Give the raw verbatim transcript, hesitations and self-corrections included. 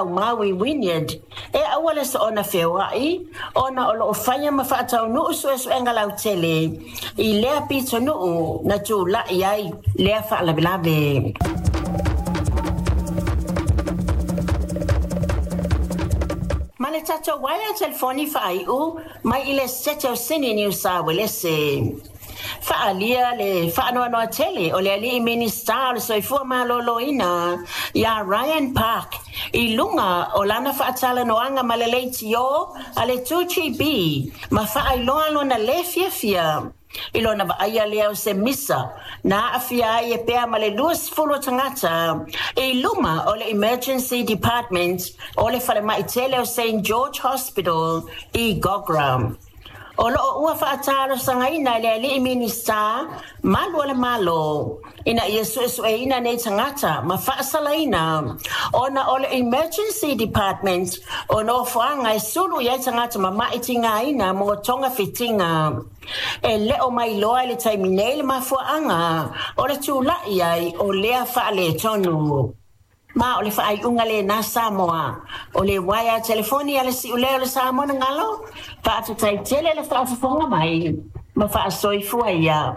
Faalaumau i Wynyard e aua le soona feoai ona o loo faia ma faataunuu suesuega lautele i lea pitonuu na tulai ai lea faalavelave. Ma le tatou waea telefoni faaiu mai i le Setete o Sini Niu Sa Uelese. Faaalia le faanoanoa tele o le alii Minisita o le Soifua Maloloina ia Ryan Park i luga o lana faatalanoaga ma le leitio a le two G B ma faailoa lona lē fiafia i lona vaaia lea o se misa na aafia ai e pea ma le luasefulu o tagata i luma o le Emergency Department o le falemai tele o Saint George Hospital i Gogra. O loo ua faatalosagaina e le alii Minisita malu o le Malo ina ia suesueina nei tagata ma faasalaina ona o le Emergency Department o nofoaga e sulu i ai tagata mama'i tigaina mo togafitiga. E le o mailoa i le taimi nei le mafuaaga o le tula'i ai o lea faaletonu. Ma o le faaiuga lena Samoa o le uaea telefoni a le siuleo o le Samoa na galo faafetai tele le faafofoga mai ma faasoifua ia.